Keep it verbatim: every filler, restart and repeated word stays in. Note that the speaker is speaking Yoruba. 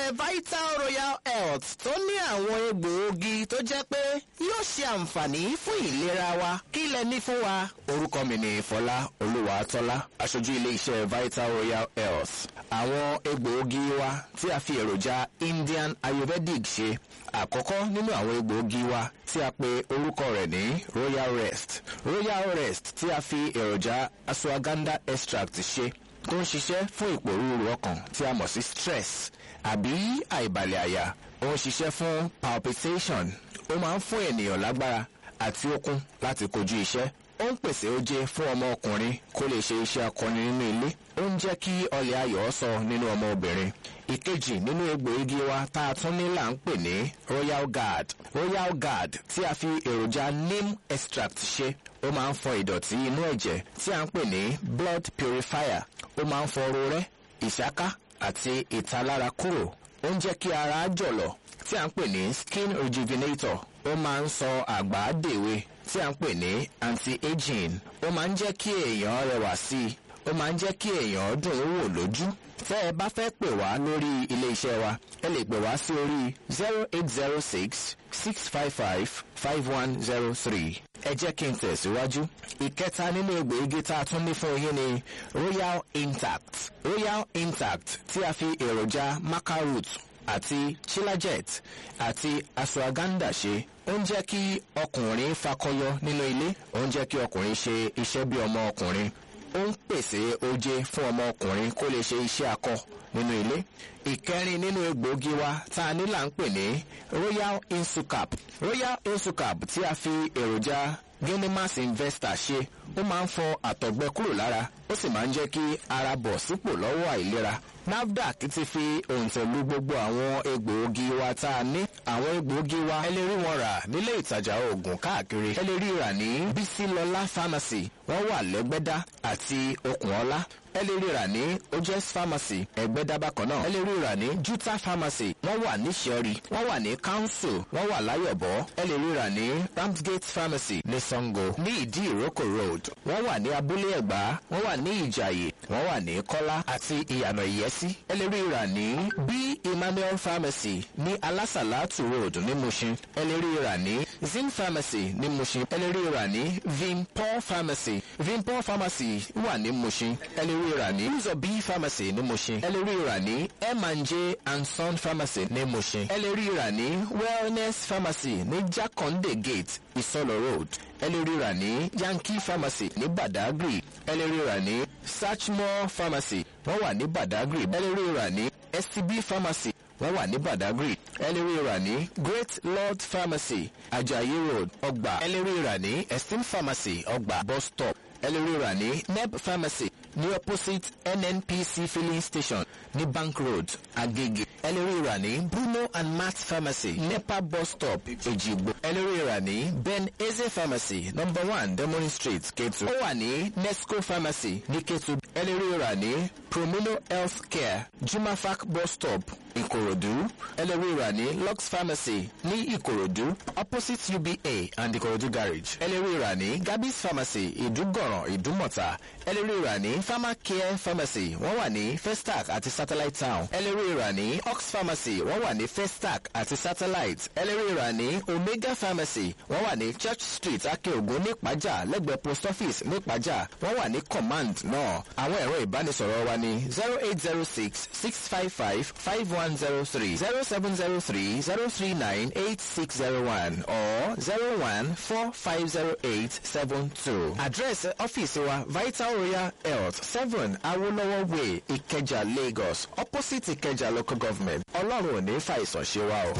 Ilé-iṣẹ́ Vital Royal Health tó ní àwọn egbòogi tó jẹ́ pé yóò ṣe àǹfààní fún ìlera wa, kí lẹ ní fún wa? Orúkọ mi ni Fọlá Olúwatọ́lá, aṣojú ilé-iṣẹ́ Vital Royal Health. Àwọn egbòogi wa tí a fi èròjà Indian Ayurvedic ṣe. Àkọ́kọ́ nínú àwọn egbòogi wa tí a pe orúkọ rẹ̀ ní Royal Rest. Royal Rest tí a fi èròjà ashwagandha extract ṣe, tó ń ṣiṣẹ́ fún ìpòrúurú ọkàn tí a mọ̀ sí stress àbí àìbalẹ̀ àyà. Ó ń ṣiṣẹ́ fún palpitation. Ó máa ń fún ènìyàn lágbára àti okun láti kojú iṣẹ́. Ó ń pèsè oje fún ọmọ ọkùnrin kó lè ṣe iṣẹ́ akọni nínú ilé. Ó ń jẹ́ kí ọlẹ̀ ayọ̀ sọ nínú ọmọ obìnrin. Ìkejì nínú egbòogi wa tá a tún ní là ń pè ní Royal Guard. Royal Guard tí a fi èròjà neem extract ṣe, ó máa ń fọ ìdọ̀tí inú ẹ̀jẹ̀ tí a ń pè ní blood purifier. Ó máa ń fọ rorẹ́, ìsáká àti ìtalára kúrò. Ó ń jẹ́ kí ara jọ̀lọ̀ tí a ń pè ní skin rejuvenator. Ó máa ń sọ àgbà dèwe tí a ń pè ní anti-aging. Ó máa ń jẹ́ kí èèyàn rẹwà sí i. Ó máa ń jẹ́ kí èèyàn dùn ún wò lójú. Tẹ́ ẹ bá fẹ́ pè wá lórí ilé iṣẹ́ wa, ẹ lè pè wá sí orí zero eight zero six six five five five one zero three. Ẹ jẹ́ kí n tẹ̀síwájú. Ìkẹta nínú egbòogi tá a tún ní fún yín ni Royal Intact. Royal Intact tí a fi èròjà maca root àti chilajet àti ashwagandha ṣe, ó ń jẹ́ kí ọkùnrin fakọyọ nínú ilé. Ó ń jẹ́ kí ọkùnrin ṣe iṣẹ́ bí ọmọ ọkùnrin. Ó ń pèsè oje fún ọmọ ọkùnrin kó lè ṣe iṣẹ́ akọ nínú ilé. Ìkẹrin nínú egbòogi wa tá a ní là ń pè ní Royal Insucap. Royal Insucap tí a fi èròjà Genimas Investor ṣe, ó máa ń fọ àtọ̀gbẹ kúrò lára, ó sì máa ń jẹ́ kí ara bọ̀ sípò lọ́wọ́ àìlera. NAFDAC ti fi òǹtẹ̀ lu gbogbo àwọn egbòogi wa tá a ní. Àwọn egbòogi wa, ẹ lè rí wọn rà nílé ìtajà oògùn káàkiri. Ẹ lè rí rà ní Bísílọlá Pharmacy, wọ́n wà lẹ́gbẹ́dá àti Okùnọ́lá. Ẹ lè rí rà ní Ojes Pharmacy, Ẹgbẹ́dá bákan náà. Ẹ lè rí rà ní Juta Pharmacy, wọ́n wà ní Ṣẹ́rí, wọ́n wà ní Council, wọ́n wà Láyọ̀bọ̀. Ẹ lè rí rà ní Ramsgate Pharmacy ní Sango, ní Ìdí Ìrókò Road. Wọ́n wà ní Abúlé Ẹ̀gbá, wọ́n wà ní Ìjàyè, wọ́n wà ní Kọ́lá àti Ìyànà Ìyẹ́sí. Ẹ lè rí rà ní B Emmanuel Pharmacy ní Alásàlátù Road ní Mushin. Ẹ lè rí rà ní Zin Pharmacy ní Mushin. Ẹ lè rí rà ní Vinpol Pharmacy. Vinpol Pharmacy wà ní Mushin. Ẹ lè rí rà ní Uzobi Pharmacy ní Mushin. Ẹ lè rí rà ní M and J and Son Pharmacy ní Mushin. Ẹ lè rí rà ní Wellness Pharmacy ní Jakande Gate, Isolo Road. Ẹ lè rí rà ní Yankee Pharmacy ní Badagry. Ẹ lè rí rà ní Sachmo Pharmacy, wọ́n wà ní Badagry. Ẹ lè rí rà ní S T B Pharmacy, wọ́n wà ní Badagry. Ẹ lè rí rà ní Great Lord Pharmacy, Ajayi Road, Ọgbà. Ẹ lè rí rà ní Esteem Pharmacy, Ọgbà bus stop. Ẹ lè rí rà ní Neb Pharmacy ní opposite N N P C filling station ní Bank Road, Agege. Ẹ lè rí rà ní Bruno and Matt Pharmacy, NEPA bus stop, Èjìgbò. Ẹ lè rí rà ní Ben Eze Pharmacy, number one Demoni Street, Ketu. Ó wà ní Nesco Pharmacy ní Ketu. Ẹ lè rí rà ní Promino Health Care, Jumafac bus stop, Ìkòròdú. Ẹ lè rí rà ní Lux Pharmacy ní Ìkòròdú, opposite U B A and Ìkòròdú Garage. Ẹ lè rí rà ní Gabis Pharmacy, Ìdúgọ̀ràn, Ìdúmọ̀tà. Ẹ lè rí rà ní Pharmacare Pharmacy, wọ́n wà ní Festac àti Satellite Town. Ẹ lè rí rà ní Ox Pharmacy, wọ́n wà ní Festac àti Satellite. Ẹ lè rí rà ní Omega Pharmacy, wọ́n wà ní Church Street, Akeogun, nípàjà, lẹ́gbẹ̀ẹ́ post office nípàjà. Wọ́n wà ní Command náà. Àwọn ẹ̀rọ ìbánisọ̀rọ̀ wa ní zero eight zero six six five five five one zero three, zero seven zero three zero three nine eight six zero one or zero one four five zero eight seven two. Àdírẹ́sì ọ́fíìsì wa, Vital Royal Health, seven Awolowo Way, Ìkẹjà, Lagos, opposite Ìkẹjà Local Government. Ọlọ́run ò ní fàìsàn ṣe wa o.